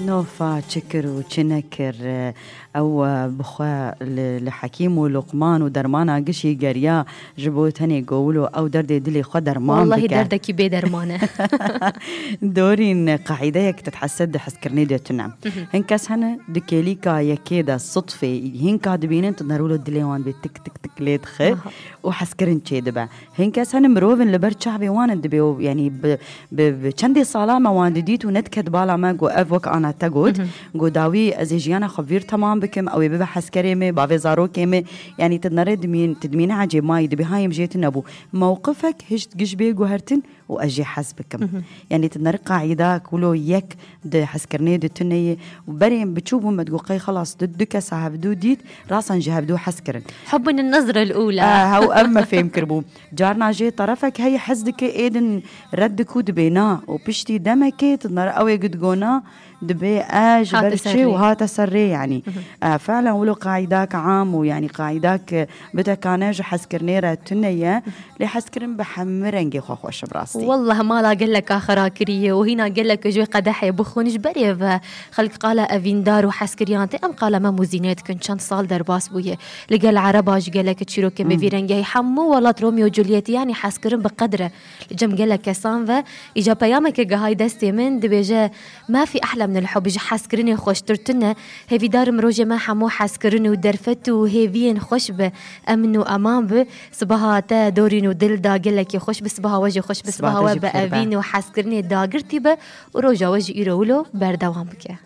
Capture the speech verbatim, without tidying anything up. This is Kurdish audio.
Nofa çi kir û çi nekir, ew, e, bi xwe li, li Hekîm û Luqman û dermana gişî geriya ji bo tenê go wilo ew derdê dilê xwe derman Wallahî bike. Derdekî bê derman e. Dorîn, qaîdeyek te dihese di hezkirinê de tune. Hin kes hene di kêlîka yekê de sitfê hinka dibînin, tu nerûlo dilê wan bê tik tik tik lê dixe Aha. û hezkirin çê dibe. Hin kes hene mirovin li ber çavê wan in dibê û, yanî, bi, bi, bi çendê sala me wan didît û nediket bala me, got, ev wek ana te got. Mhm. Got, dawî ez ê jiyana xwe vîr temam bikim, ew ê bibe hezkerê me, bavê zarokê me. Yanî, tu dinere dimîn-, tu dimîne ecêb mayî, dibê hayê min jê tune bû. Mewqifek hişt giş bê guhertin û ez jê hez bikim. Mhm. Yanî, tu dinere qaîda kulo yek di hezkirinê de tune ye. Û berê min biçû bû, me digot, qey xelas, du, du kesa hevdû dît, rasan ji hevdû hez kirin. حب النظرة الأولى. Ah, hew ev me fêm kiribû. Carna jê terefek heye hez dike êdin red dikû dibê na û piştî demekê tu nere ew ê gidigona dibê e ji Hate ber ser çi rê. û hate ser rê, yanî. Mhm. E, fe'len wilo qaîdak am û, yanî, qaîdak bitekane ji hezkirinê re tune ye, lê hezkirin bi hemî rengê xwe xweş e bi rastî. Wallah, mala gelek a xera kiriye û hîna gelek ji wê qedehê bixwin ji berê ve xelk qala evîndar û hezkiriyan tê. Em qala me muzîne dikin, çend sal derbas bûye. Li gel Ereba jî gelek çîrokên bi Mhm. vî rengî heye. Hemû welat Romeo û Julietî, yanî hezkirin bi qedr e. Li cem gelek kesan ve îca peyameke gehayî destê min, dibêje, "ما في أحلى من الحب", ji hezkirinê xweştir tune. Hêvîdarim rojê me hemû hezkirin û derfet û hêviyên xweş bi, emn û eman bi. Sibaha te dorîn û dil da gelekî xweş bi, sibaha we jî xweş bi, Sibaha sibaha te we jî bi bi xêr be. evîn û hezkirinê dagirtî be û roja we jî îro wilo berdewam bike.